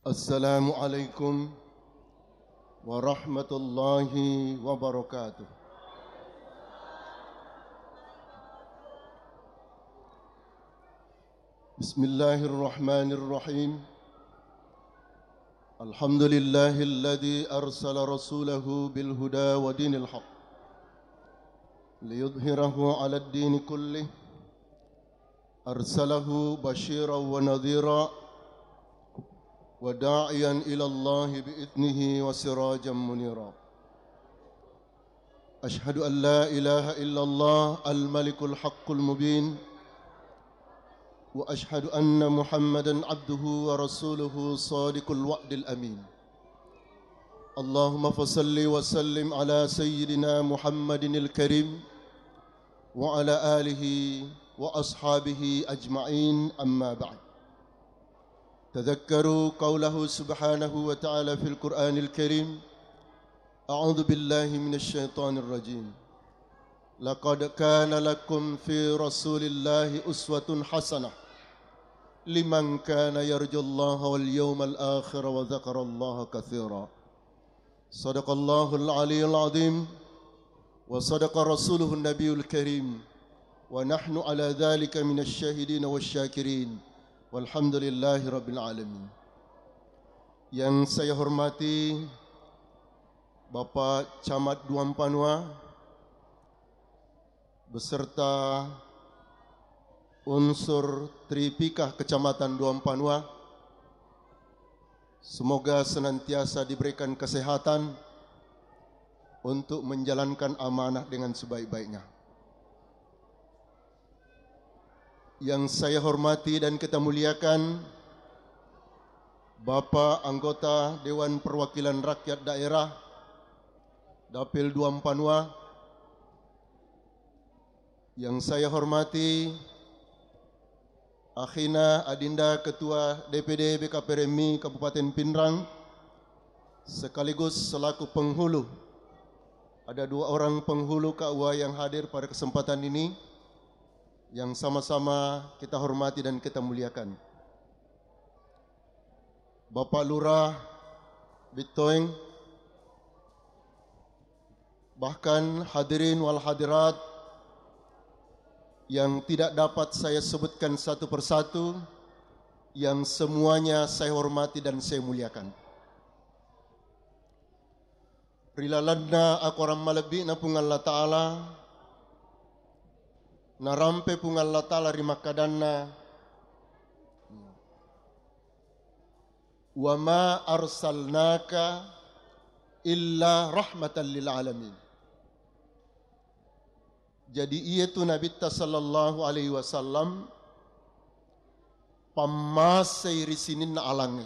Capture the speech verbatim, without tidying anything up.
السلام عليكم ورحمة الله وبركاته. بسم الله الرحمن الرحيم. الحمد لله الذي أرسل رسوله بالهدى ودين الحق ليظهره على الدين كله، أرسله بشيرا ونذيرا وداعيا إلى الله بإذنه وسراجا منيرا. أشهد أن لا إله إلا الله الملك الحق المبين، وأشهد أن محمدا عبده ورسوله صادق الوعد الأمين. اللهم فصل وسلم على سيدنا محمد الكريم وعلى آله وأصحابه أجمعين، أما بعد. تذكروا قوله سبحانه وتعالى في القرآن الكريم: أعوذ بالله من الشيطان الرجيم. لقد كان لكم في رسول الله أسوة حسنة لمن كان يرجو الله واليوم الآخر وذكر الله كثيرا. صدق الله العلي العظيم، وصدق رسوله النبي الكريم، ونحن على ذلك من الشاهدين والشاكرين، والحمد لله رب العالمين. Yang saya hormati Bapak Camat Duampanua beserta unsur Tripika Kecamatan Duampanua, semoga senantiasa diberikan kesehatan untuk menjalankan amanah dengan sebaik-baiknya. Yang saya hormati dan kita muliakan Bapak Anggota Dewan Perwakilan Rakyat Daerah Dapil Duampanua, yang saya hormati Akhina Adinda Ketua D P D B K P R M I Kabupaten Pinrang, sekaligus selaku penghulu. Ada dua orang penghulu K U A yang hadir pada kesempatan ini, yang sama-sama kita hormati dan kita muliakan. Bapak Lurah Bittoeng, bahkan hadirin wal hadirat yang tidak dapat saya sebutkan satu persatu, yang semuanya saya hormati dan saya muliakan. Ri lalenna akorang malebbi'na Puang Allah Ta'ala, narampe Puang Allah Ta'ala ri makkadanna, "Wa ma arsalnaka illa rahmatan lil alamin." Jadi, iyatu Nabitta sallallahu alaihi wasallam pammasei ri sininna alangnge.